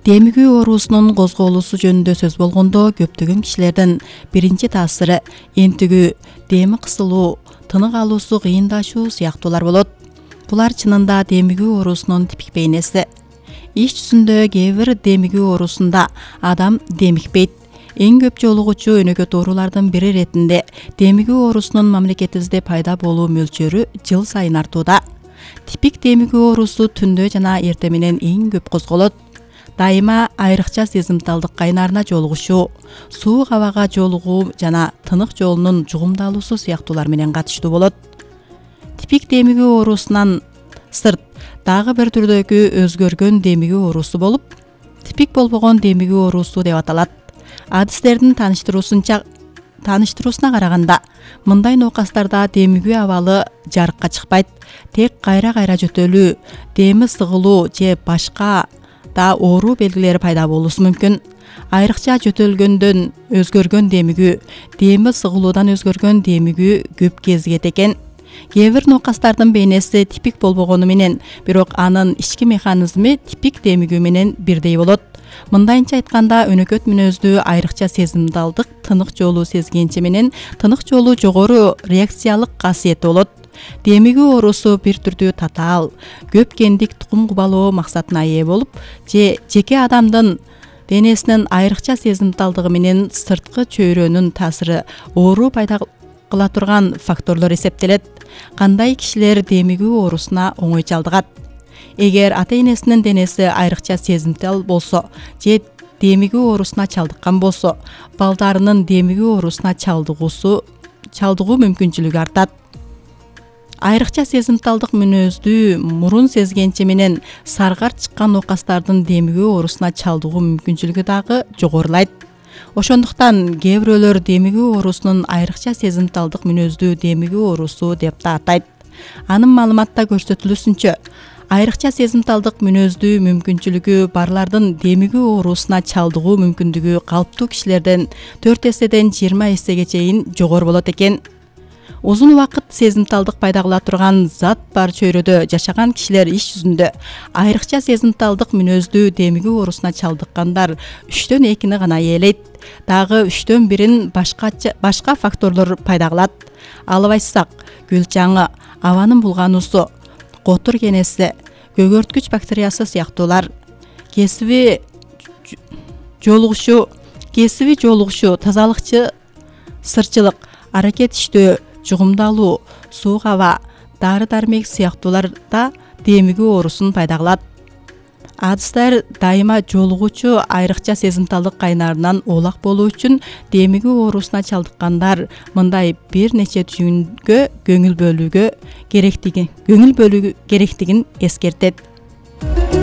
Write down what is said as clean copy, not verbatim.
Демигүү оорусунун козголуусу жөнүндө сөз болгондо көптөгөн кишилердин биринчи таасиры энтигүү, деми кысылуу, тынык алуусу кыйындашуу сыяктуулар болот. Булар чынында демигүү оорусунун типик бейнеси. Иш жүзүндө кээ бир демигүү оорусунда адам демикпейт. Эң көп жолугучу өнөкөт оорулардын бири иретинде демигүү оорусунун мамлекетибизде пайда болуу мөлчөрү жыл сайын артууда. Типик демигүү оорусу түндө жана эртең менен эң көп козголот. Дайыма айрыкча сезимталдык кайнарына жолугушуу, суук абага жолугуу жана тынык жолунун жугумдалуусу сыяктуулар менен катыштуу болот. Типик демигүү оорусунан сырт дагы бир түрдөгү өзгөргөн демигүү оорусу болуп, типик болбогон демигүү оорусу деп аталат. Адистердин тааныштыруусуна караганда, мындай ноокастарда демигүү абалы жарыкка чыкпайт, тек кайра-кайра жөтөлүү, деми сыгылуу же башка да оору белгилери пайда болуусу мүмкүн. Айрыкча жөтөлгөндөн өзгөргөн демигүү, деми сыгылуудан өзгөргөн демигүү көп кезигет экен. Кээ бир ноокастардын бейнеси типик болбогону менен, бирок анын ички механизми типик демигүү менен бирдей болот. Мындайынча айтканда, өнөкөт мүнөздүү айрыкча сезимталдык тынык жолу сезгенчи менен тынык жолу жогору реакциялык касиети болот. Демигүү оорусу бир түрдүү татаал, көп гендик тукум кубалоо максатына ээ болуп, же жеке адамдын денесинин айрыкча сезимталдыгы менен сырткы чөйрөнүн таасири оору пайда кыла турган факторлор эсептелет. Кандай кишилер демигүү оорусуна оңой чалдыгат? Эгер ата-энесинин денеси айрыкча сезимтал болсо же демигүү оорусуна чалдыккан болсо, балдарынын демигүү оорусуна чалдыгуу мүмкүнчүлүгү артат. Айрыкча сезимталдык мүнөздүү мурун сезгенчи менен саргарт чыккан ноокастардын демигүү оорусуна чалдыгуу мүмкүнчүлүгү дагы жогорулайт. Ошондуктан кээ бирөөлөр демигүү оорусунун айрыкча сезимталдык мүнөздүү демигүү оорусу деп да атайт. Анын маалыматта көрсөтүлүшүнчө, айрыкча сезимталдык мүнөздүү мүмкүнчүлүгү барлардын демигүү оорусуна чалдыгуу мүмкүндүгү калыптуу кишилерден 4 эседен 20 эсеге чейин жогору болот экен. Узун убакыт сезимталдык пайда кыла турган зат бар чөйрөдө жашаган кишилер иш жүзүндө айрыкча сезимталдык мүнөздүү демигүү оорусуна чалдыккандар 3төн 2-ни гана ээлейт. Дагы 3төн 1-ин башка факторлор пайда кылат. Алып айтсак, гүл чаңы, абанын булгануусу, котур кенеси, көгөрткүч бактериясы сыяктуулар, кесиби жолугушуу, тазалыкчы сырчылык, аракет иштөө, жугумдалуу, суук аба, дары-дармек сыяктуулар да демигүү оорусун пайда кылат. Адистер дайыма жолугуучу айрыкча сезимталдык кайнарынан оолак болуу үчүн демигүү оорусуна чалдыккандар мындай бир нече түйүнгө көңүл бөлүү керектигин эскертет.